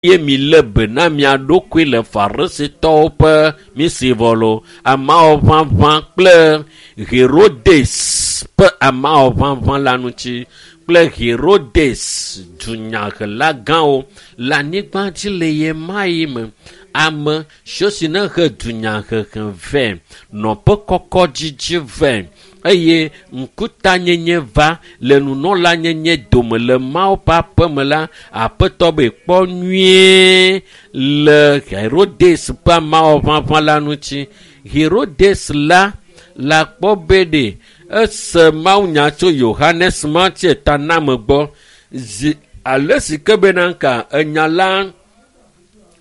Eye milé be na mia ɖokui le Farisitɔwo ƒe misivɔlo, amawɔ ʋaʋã kple Herodes ƒe amawɔ ʋaʋã la ŋuti kple Herodes dunyahela gãwo le anyigba dzi le ɣemaɣi me. Ame siwo si ne he dunyahehe vɛ, nɔƒe kɔkɔ dzidzi vɛ eye ŋkutanyenye va le nunɔlanyenye dome le Mawu ƒe aƒeme la, Aƒetɔ be kpɔ nyuie le Herodes ƒe amawɔ ʋaʋã la ŋuti. Herodes la le akpɔ be ɖe ese mawunya tso Yohanes Mawutsiataname gbɔ zi ale si ke bena ka enya la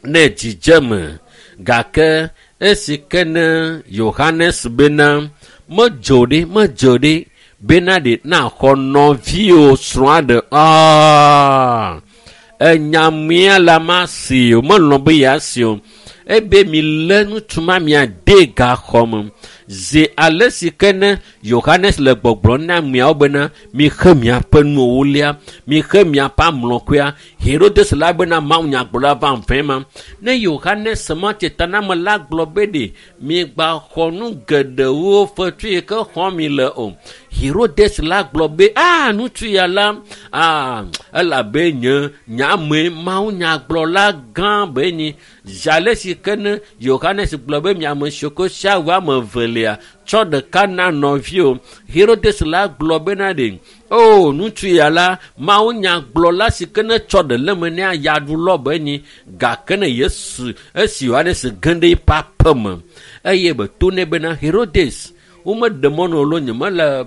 ne dzidzeme gake esi ke ne Yohanes bena medzo ɖi medzo ɖi bena ɖe naxɔ nɔviwò srɔ̃a ɖe aa enyamia la ma si o melɔ̃ be yeasi o ebe milé ŋutsu ma miade gaxɔ me zi ale si ke ne Yohanes le gbɔgblɔm na ameawo bena mixe miaƒe nuwolia mixe miaƒe amlɔkɔea Herodes la bena mawunyagblɔla va vɛ ma ne Yohanes ma tetaname la gblɔ be ɖe migba xɔ nu geɖewo fetu yi ke xɔm mi le o Herodes la gblɔ be aa ŋutsu ya la aa elabe nye nyame mawunyagblɔla gã be nyi zi ale si ke ne Yohanes gblɔ be miame siwo ke sia wu ame evelia tsɔ ɖeka na nɔviwò Herodes la gblɔ bena ɖe o ŋutsu ya la mawunyagblɔla si ke ne tsɔ ɖe le eme ne ayaɖulɔ be nyi gake ne Yesu esi Yohanes ge ɖe eƒe aƒe me eye be to nɛ bena Herodes womeɖe mɔ na wò loo nyemele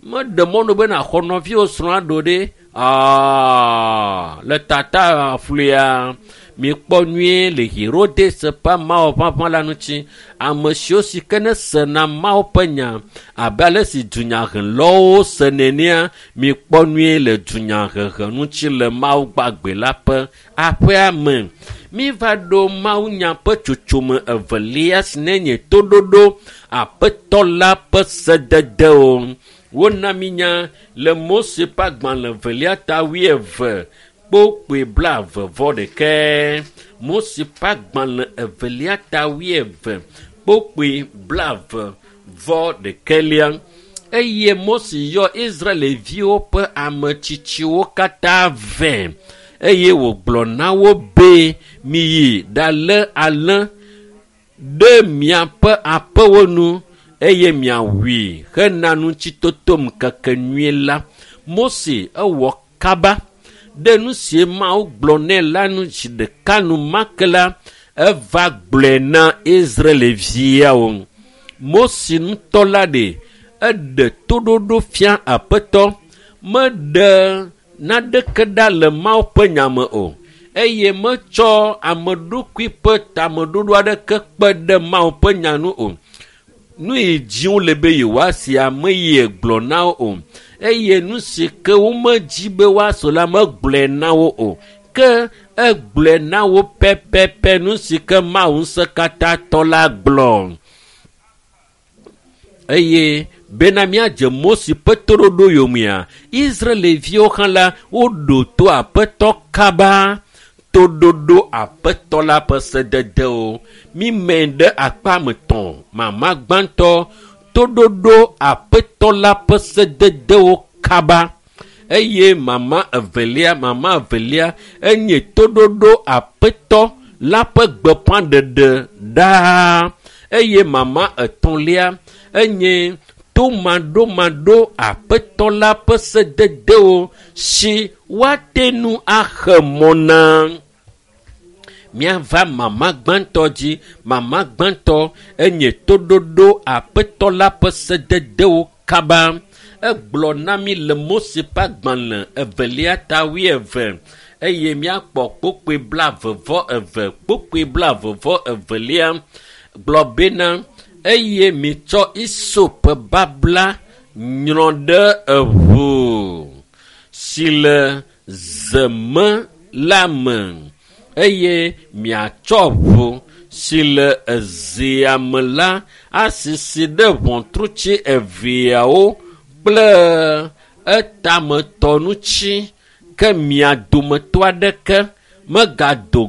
meɖe mɔ na wò be nàxɔ nɔviwò srɔ̃a ɖo ɖe aa le tata fluia mikpɔ nyuie le Herodes ƒe amawɔ ʋaʋã la ŋuti ame siwo si ke ne sena Mawu ƒe nya abe ale si dunyahelawo se nenea mikpɔ nyuie le dunyahehe ŋuti le Mawu gbagbe la ƒe aƒea me. Míva ɖo mawunya ƒe tsotsome evelia si ne nye toɖoɖo Aƒetɔ la ƒe sededewo. Wona mi nya le Mose ƒe agbalẽ evelia ta wuieve kpokpoe blaeve vɔ ɖekɛ. Mose ƒe agbalẽ evelia ta wuieve kpokpoe blaeve vɔ ɖekɛlia. Eye Mose yɔ Israelviwo ƒe ametsitsiwo katã vɛ eye wògblɔ na wo be miyi ɖalé alẽ ɖe miaƒe aƒewo nu eye miawui hena ŋutitoto ŋkekenyui la. Mose ewɔ kaba ɖe nu si Mawu gblɔ nɛ la nu zi ɖeka enumake la eva gblɔe na Israelviawo. Mose ŋutɔ la ɖe eɖe toɖoɖo fia Aƒetɔ meɖe naneke ɖa le Mawu ƒe nya me o eye metsɔ ame ɖokui ƒe tameɖoɖo aɖeke kpe ɖe Mawu ƒe nya nu o. Nu yi dzi wole be yewoasi ame yie gblɔ na wo o eye nu si ke womedzi be woase la megblɔe na wo o ke egblɔe na wo pɛpɛpɛ nu si ke Mawu ŋusẽkatãtɔ la gblɔ. Eye bena míadze Mose ƒe toɖoɖo yomea, Israelviwo hã la woɖo to Aƒetɔ kaba toɖoɖo Aƒetɔ la ƒe sededewo. Mímɛ ɖe akpa me tɔ̃ mama gbãtɔ toɖoɖo Aƒetɔ la ƒe sededewo kaba eye mama evelia mama evelia enye toɖoɖo Aƒetɔ la ƒe gbeƒãɖeɖe ɖaa eye mama etɔ̃lia enye tomaɖomaɖo Aƒetɔ la ƒe sededewo si woate ŋu axe mɔ na. Míava mama gbãtɔ dzi. Mama gbãtɔ enye toɖoɖo Aƒetɔ la ƒe sededewo kaba. Egblɔ na mí le Mose ƒe agbalẽ evelia ta wuieve eye míakpɔ kpokpoe blaeve vɔ eve kpokpoe blaeve vɔ evelia gblɔ bena eye mitsɔ isop babla nyrɔ ɖe eʋu si le zeme la me eye miatsɔ ʋu si le ezea me la asisi ɖe ʋɔtrutsi eveawo kple etametɔ ŋuti ke mia dometɔ aɖeke megado